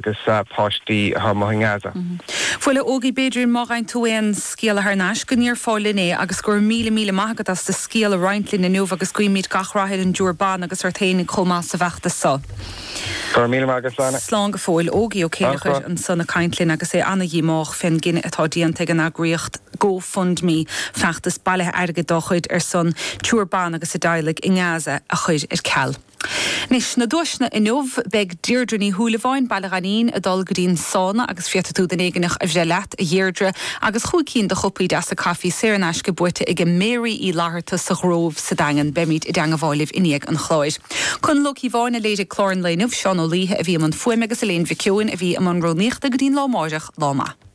Agus páistí atá amuigh i nGaza. Bhuel, a Ógie, b'fhéidir má fhaigheann tú aon scéala thar n-ais go ndéarfá linn é agus go raibh míle míle maith agat as do scéal a roinnt linn inniu agus guímid gach rath ar an dtriúr ban agus ort féinig chomh maith sa bhfeachtas so. Go raibh míle maith agat, Sláine. Slán go fóill. Ógie Ó Céilleachair ansan ag caint linn agus é ana-dhíomách fén gcinneadh atá déanta ag an eagraíocht GoFundMe feachtas bailithe airgid dá chuid ar son triúr ban agus a dteaghlaigh i nGaza a chur ar ceal. Anois, na duaiseanna inniu, beidh Deirdre Ní Shúilleabháin, Baile Ghainín, ag dul go dtí an sána agus féadfaidh tú duine éigineach a bhreith leat, a Dheirdre, agus chúig cinn de chupaí deasa caife saor in aisce buaite aige Mary Uí Fhlatharta sa Ghrove sa Daingean. Beimid i dteangabháil libh i ndiaidh an chláir. Conall Ó Cíobháin a léirigh clár an lae inniu, Seán Ó Laoithe a bhí i mbun fuaime agus Elaine Mhic Eoin a bhí i mbun rúnaíochta go dtí'n lá amáireach, lá maith.